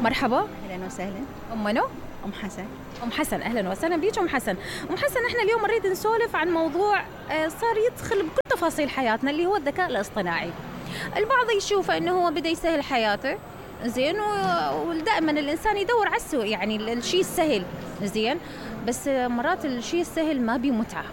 مرحبا. اهلا وسهلا. ام منو؟ ام حسن. ام حسن، اهلا وسهلا بيك ام حسن. ام حسن، احنا اليوم نريد نسولف عن موضوع صار يدخل بكل تفاصيل حياتنا اللي هو الذكاء الاصطناعي. البعض يشوف انه هو بدا يسهل حياته، زين، ودائما الانسان يدور على السوء، يعني الشيء السهل، زين، بس مرات الشيء السهل ما بيه متعه،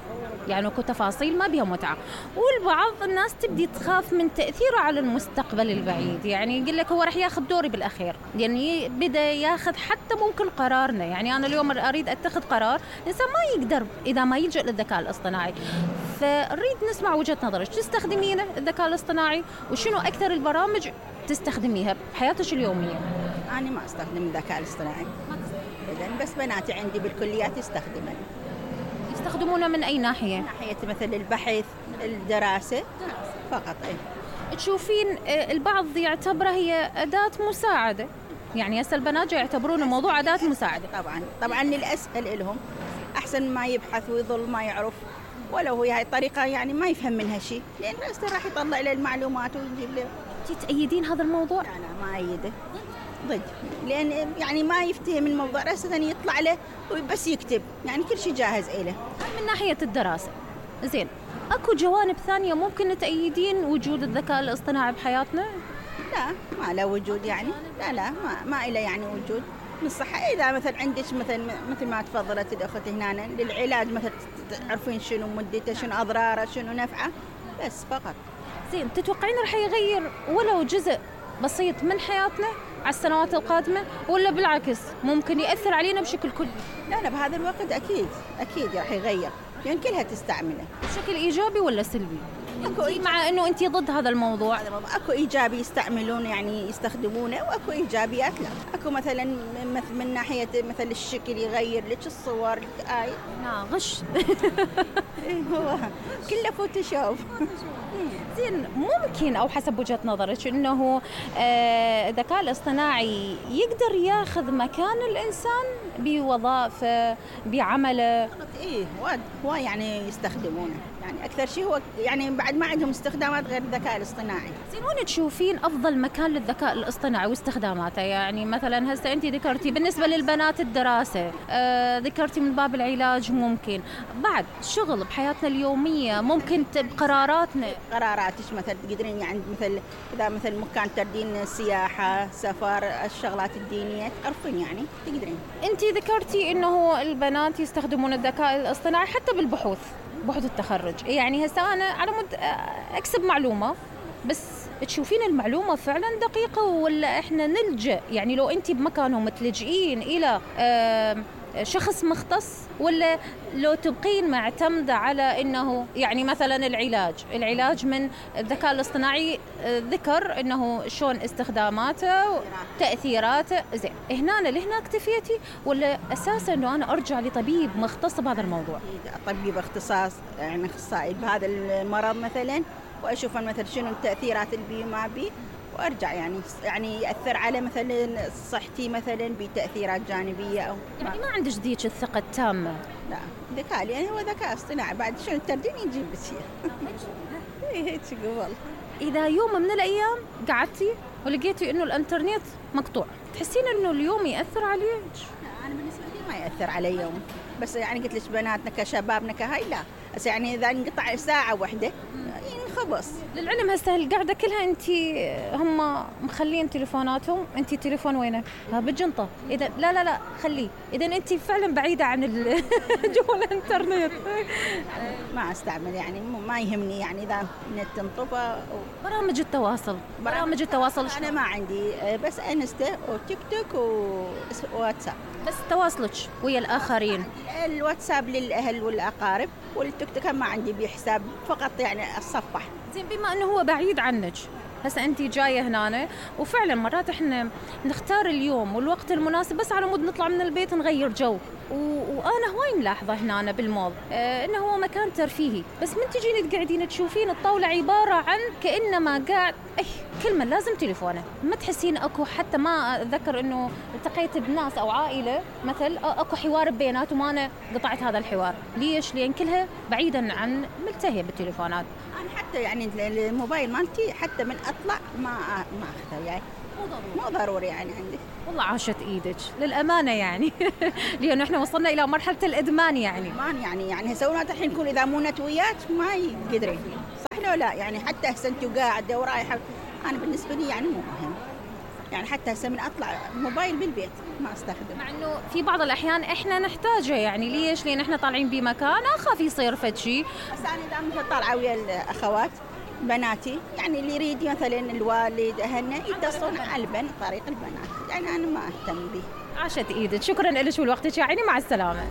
يعني اكو تفاصيل ما بيها متعه، والبعض الناس تبدي تخاف من تاثيره على المستقبل البعيد، يعني يقول لك هو راح ياخذ دوري بالاخير، يعني بدا ياخذ حتى ممكن قرارنا. يعني انا اليوم اريد اتخذ قرار، الانسان ما يقدر اذا ما يلجأ للذكاء الاصطناعي. فنريد نسمع وجهه نظرك، تستخدمينه الذكاء الاصطناعي، وشنو اكثر البرامج تستخدميها بحياتك اليوميه؟ انا ما استخدم الذكاء الاصطناعي ابدا، بس بناتي عندي بالكليات يستخدمونه من اي ناحيه؟ ناحيه مثل البحث، الدراسه فقط. تشوفين البعض يعتبرها هي اداه مساعده، يعني هسه البنات يعتبرون الموضوع اداه مساعده. طبعا للاسهل لهم، احسن ما يبحث ويظل ما يعرف، ولو هي هاي الطريقه يعني ما يفهم منها شيء، لان راسه راح يطلع له المعلومات ويجيب له. تأيدين هذا الموضوع؟ لا ما أيده، ضد، لأن يعني ما يفتهم الموضوع، رأسا يطلع له وبس يكتب، يعني كل شيء جاهز إله. من ناحية الدراسة، زين، أكو جوانب ثانية ممكن تأيدين وجود الذكاء الاصطناعي بحياتنا؟ لا ما له وجود، يعني لا ما إله يعني وجود. من الصحة إذا مثل عندك مثل ما تفضلت الأخت هنا للعلاج، مثل تعرفين شنو مدته، شنو أضراره، شنو نفعه، بس فقط. زين، تتوقعين رح يغير ولو جزء بسيط من حياتنا على السنوات القادمة، ولا بالعكس ممكن يأثر علينا بشكل كلي؟ لا بهذا الوقت أكيد راح يغير، لأن كلها تستعمله. بشكل إيجابي ولا سلبي؟ مع أنه أنت ضد هذا الموضوع. أكو إيجابي يستعملون يعني يستخدمونه، وأكو إيجابيات لا. أكو مثلا من ناحية مثل الشكل يغير لك الصور غش. هو كله فوتوشوب. زين، ممكن أو حسب وجهة نظرك أنه الذكاء الاصطناعي يقدر ياخذ مكان الإنسان بوظائفه بعمله؟ هو يعني يستخدمونه، يعني أكثر شيء هو يعني بعد ما عندهم استخدامات غير الذكاء الاصطناعي. زين، وين تشوفين أفضل مكان للذكاء الاصطناعي واستخداماته؟ يعني مثلا هسه أنت ذكرتي بالنسبة للبنات الدراسة، ذكرتي من باب العلاج، ممكن بعد شغل بحياتنا اليومية، ممكن قراراتك مثلا تقدرين يعني إذا مثل مكان تردين سياحة، سفر، الشغلات الدينية تعرفين يعني تقدرين. أنت ذكرتي إنه البنات يستخدمون الذكاء الاصطناعي حتى بالبحوث، بحوث التخرج، يعني هسه أنا على مود أكسب معلومة، بس تشوفين المعلومة فعلا دقيقة ولا إحنا نلجأ، يعني لو أنت بمكانهم تلجئين إلى شخص مختص، ولا لو تبقين معتمدة على إنه يعني مثلا العلاج من الذكاء الاصطناعي ذكر إنه شلون استخداماته وتأثيراته، زين، هنا لهنا اكتفيتي ولا أساسا إنه أنا أرجع لطبيب مختص بهذا الموضوع؟ طبيب اختصاص، يعني أخصائي بهذا المرض مثلا، وأشوف مثلا شنو التأثيرات اللي ما بي، وارجع يعني ياثر على مثلا صحتي مثلا بتاثيرات جانبيه او يعني ما عندش ذيك الثقه التامه. لا، ذكاء يعني هو ذكاء اصطناعي، بعد شنو التردين يجيب بشيء. هيك قبل. اذا يوم من الايام قعدتي ولقيتي انه الانترنت مقطوع، تحسين انه اليوم ياثر عليك؟ انا بالنسبه لي ما ياثر علي يوم، بس يعني قلت لك بناتنا كشبابنا كهاي لا، بس يعني اذا انقطع ساعه واحده خبص. للعلم هسه القعده كلها انت هم مخلين تليفوناتهم، انت تليفون وينه؟ بالجنطه. اذا لا خليه، اذا انت فعلا بعيده عن جوا الانترنت. ما استعمل، يعني ما يهمني، يعني اذا النت انطفى. برامج التواصل انا ما عندي، بس انستا وتيك توك وواتساب، بس تواصلك ويا الاخرين. الواتساب للاهل والاقارب، والتيك توك ما عندي بحساب، فقط يعني الصفح. زين، بما انه هو بعيد عنك، هسه انت جايه هنا، وفعلا مرات احنا نختار اليوم والوقت المناسب بس على مود نطلع من البيت نغير جو، وانا هواي ملاحظه هنا بالمول انه هو مكان ترفيهي، بس من تجين تقعدين تشوفين الطاوله عباره عن كانما قاعد كلمه لازم تليفونه، ما تحسين اكو، حتى ما اتذكر انه التقيت بناس او عائله مثل اكو حوار بيناتهم، وانا قطعت هذا الحوار. ليش؟ لان كلها بعيدا عن ملتهيه بالتليفونات. انا حتى يعني الموبايل مالتي حتى من اطلع ما اخذه، يعني مو ضروري يعني عندي. والله عاشت ايدك للامانه يعني لانه احنا وصلنا الى مرحله الادمان يعني. يعني هسه ولاد الحين يكون اذا مو نتويات ما يقدرين، صح لو لا؟ يعني حتى هسه انت قاعده ورايحه، انا بالنسبه لي يعني مو مهم، يعني حتى هسه من اطلع موبايل بالبيت ما استخدم. مع انه في بعض الاحيان احنا نحتاجه، يعني ليش؟ لان احنا طالعين بمكان اخاف يصير فد شيء. بس انا اذا مثلا طالعه ويا الاخوات بناتي، يعني اللي يريد مثلا الوالد اهلنا يتصلون على طريق البنات، يعني انا ما اهتم به. عاشت ايدك، شكرا لك ولوقتك يا عيني، مع السلامه.